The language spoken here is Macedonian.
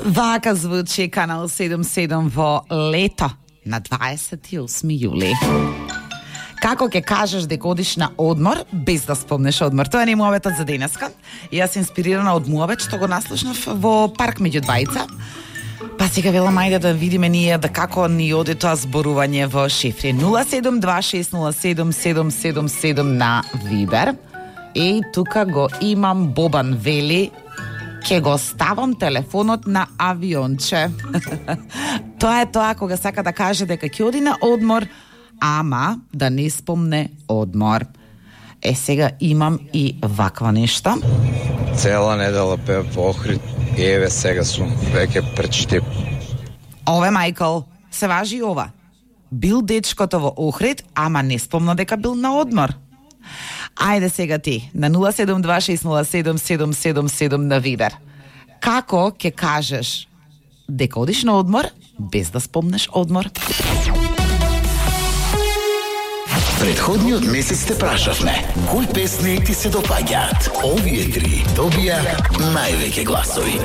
Вака звучи Канал 77 во лето на 28 јули. Како ќе кажеш дека одиш на одмор без да спомнеш одмор? Тоа не е муабетот за денеска. Јас инспирирана од муабет што го наслушнав во парк меѓу двајца. Па сега велам ајде да видиме ние да како ни оди тоа зборување во шифри 0726077777 на Вибер. И тука го имам Бобан вели ќе го ставам телефонот на авионче. Тоа е тоа кога сака да каже дека ќе оди на одмор, ама да не спомне одмор. Сега имам и ваква нешто. Цела недела пеев во Охрид и еве сега сум веќе пречтип. Ове Мајкл, се важи и ова. Бил дечкото во Охрид, ама не спомна дека бил на одмор. Ајде сега ти, на 0726077777 на Вибер. Како ќе кажеш дека одиш на одмор без да спомнеш одмор? Предходниот месец те прашавме кои песни ти се допаѓаат. Овие три добија највеќе гласови.